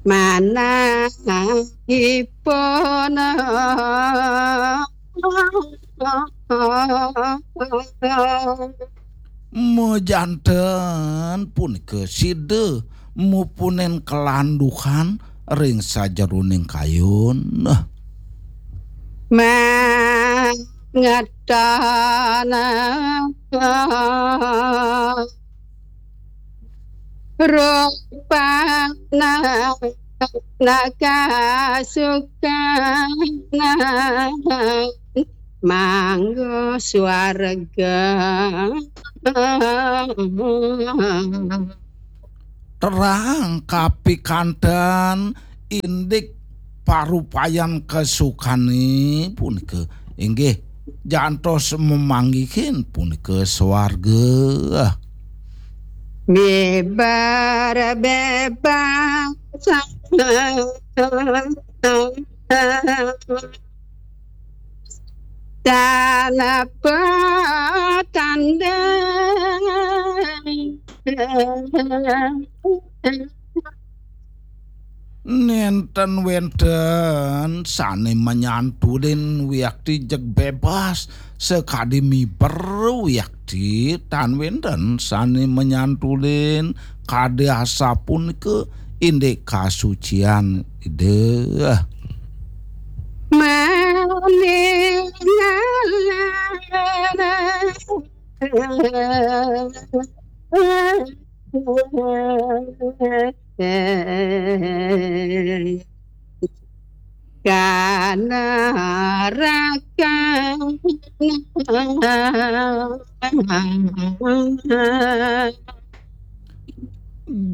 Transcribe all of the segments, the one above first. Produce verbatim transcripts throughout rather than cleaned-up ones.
manahipun. Majanten punika sida mupunin kalanduhan ring sajeroning kayun. Mangetan rupana nakasukan manggo swarga. Terang kapikanten indik parupayan kasukane punika inggih jantos mamanggihin punika swarga. Bibar bebas tanpa tanding. Nenten wenten sane manyantulin wiakti jeg bebas sakadi miber wiakti, tan wenten sane manyantulin kadi asapunika indik kasucian Ida. Maningalan kanarakan.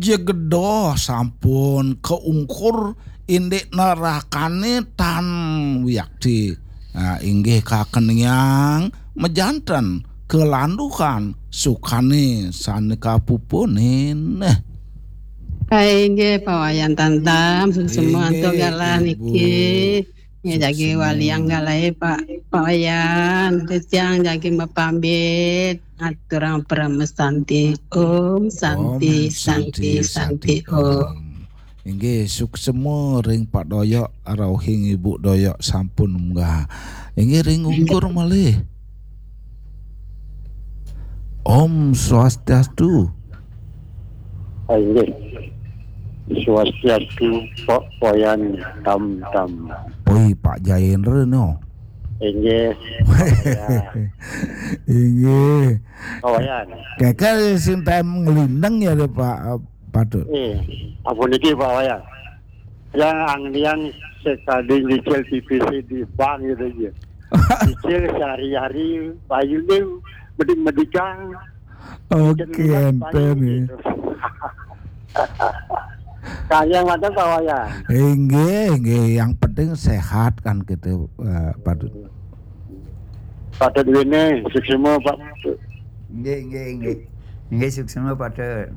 Jegedoh sampun kaungkur indik nerakane tan wiakti. Nah, inggih kakeniang majanten kalanduhan sukane sane kapupunin. Nah. Inggih, Pak Wayan Tantam, semua antuk galah niki. Ya, jagi waliang galahe, Pak, Pak Wayan. Titiang jagi mapamit. Aturang parama santi. Om santi, santi, santi, Om. Inggih, suksema ring Pak Doyok, rauhing Ibu Doyok sampun munggah. Inggih, ring ungkur malih. Om Swastiastu. Ah, inggih. Swastiastu, Pak Wayan Tantam. Oi, Pak Jayendra no. Inggih. Pak Wayan. Inggih. Pak Wayan. Kekel sing tem ngelindeng ya, Pak Patut. Eh, apa niki, Pak Wayan? Yang anglian sekali nyicil T V C di bank gitu aja. Nyicil sehari-hari, bayune medik-medikan. Oke, enten ya. Gitu. Kaya mata, Pak Wayan. Inggih, inggih. Yang penting sehat kan gitu, eh, Patut. Patut wene, suksema, Pak. Inggih, inggih, inggih. Inggih, suksema, Patut.